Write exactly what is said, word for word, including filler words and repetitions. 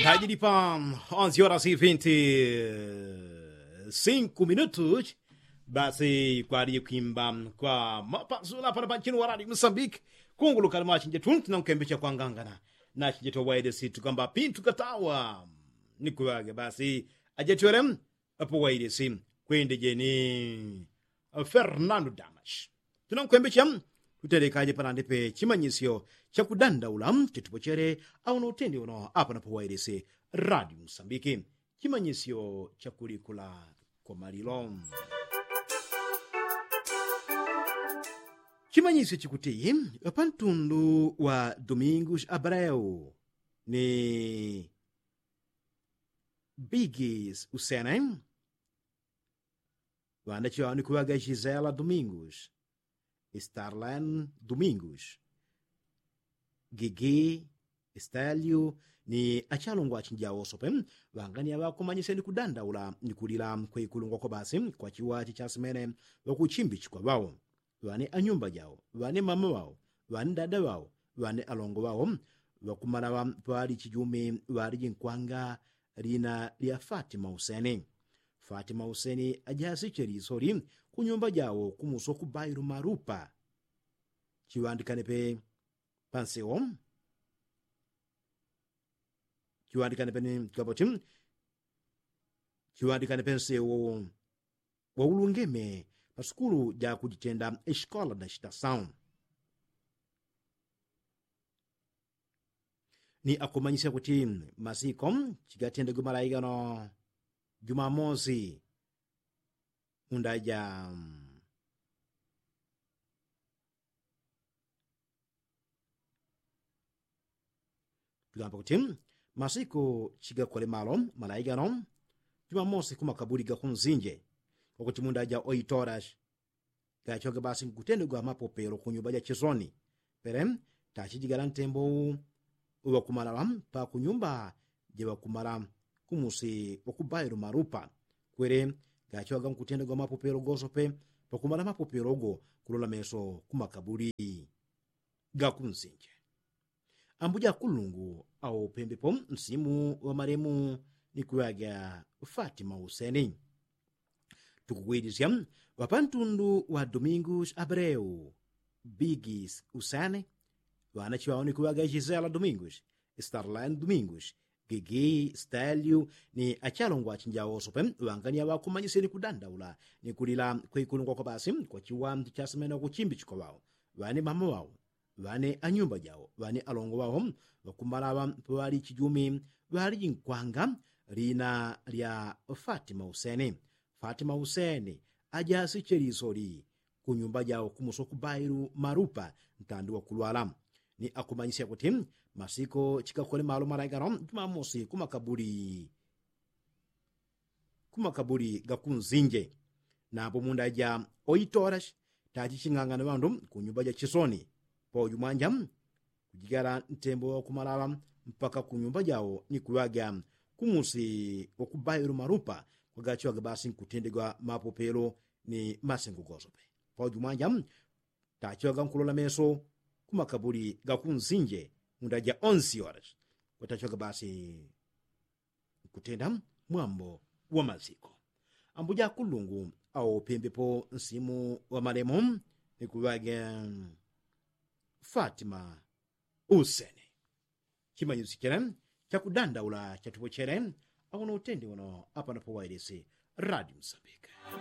Tajilipa onzi horas i vinti sinku minutus. Basi kwalije kwimba kwa mapasula pana panchinu wa radi musambiki. Kunguluka limachinjetu tinankwembecha kwangangana nachinjetu wailesi tukamba pintu katawa. Nikuwage basi ajatwele apo wailesi kwendejeni. Fernando damas tunankwembecha. Tutelekaje panandipe chimanyisyo chakudandaula chitupochele. Auno utendi uno apa napo wailesi radi musambiki. Chimanyisyo chakulikula kwa malilo. Chimanyisyo chikuti pantundu wa domingus abreu ni bigis usene. Ŵandachiŵawo ni kuŵaga gisela domingus, starlen domingus, gigi, stelio, ni achalungwa achinjawo sope. Ŵangania ŵakumanyisya ni kudandaula ni kulila kwekulungwa kwa basi kwa chiwachi chasimene ŵakuchimbichikwa ŵawo, ŵane anyumba jawo, ŵane mama ŵawo, ŵane dada ŵawo, ŵane alongo ŵawo. Ŵakumalaŵa ŵali chijumi ŵali jinkwanga lina lya fatima useni. Fatima useni ajasiche lisoli kunyumba jawo kumuso kubailu malupa. Chiŵandikane pe pansewo chiŵandikane pe ni kapoti chiŵandikane pe nsewo waulungeme pasukulu jakujitenda. Esikola na shitasawu ni akumanyisya kuti masiko chigatendegwe malaigano jumamosi mundaja. Tugambe kuti masiku chigakole malo malaigano jumamosi kumakabuli gakunzinje kwakuti mundaja oitorash. Gachoge basi nkutendegwa mapopelo kunyumba ja chisoni. Pele tachijigala ntembo uŵakumalala pakunyumba jaŵakumala kumusi wakubailo malupa. Kwele gachoga nkutendegwa mapopelo gosope pakumala mapopelo go kulola meso kumakabuli gakunzinje. Ambuja kulungu awo pembepo nsimu ŵamalemu ni kuŵaga fatima useni. Tukugwidisya ŵapantundu wa domingus abreu, bigis useni, ŵanachiŵawo ni kuŵaga gisela domingus, starlen domingus, gigi stelio, ni achalongwa achinjawo sope ŵangania ŵakumanyisya ni kudandaula ni kulila kwekulungwa kwa basi kwa chiŵandu chasimene wakuchimbichikwa ŵawo, ŵane mama ŵawo, ŵane anyumba jawo ŵane alongo ŵawo. Ŵakumalaŵa paŵali chijumi ŵali jinkwanga lina lya fatima useni. Fatima useni ajasiche lisoli kunyumba jawo kumuso kubailu malupa ntandi wakulwala. Ni akumanyisya kuti masiko chikakole malo malaigano jumamosi kumakabuli kumakabuli gakunzinje. Napo munda ja oitorash tachiching'ang'ana ŵandu kunyumba ja chisoni pauju mwanja kujigala ntembo wakumalala mpaka kunyumba jawo ni kuŵaga kumusi wakubailo malupa kwagachiŵaga basi nkutendegwa mapopelo ni masengo gosope. Pauju mwanja tachiŵaga nkulola meso kumakabuli gakunzinje munda ja onsi orash kwatachiŵaga basi nkutenda mwambo wa maziko. Ambuja kulungu awo pembepo nsimu ŵamalemu ni kuŵage fatima useni. Chimanyisi chele chakudandaula chatupo chele. Auno utendi uno apanapo wailisi radi musambika.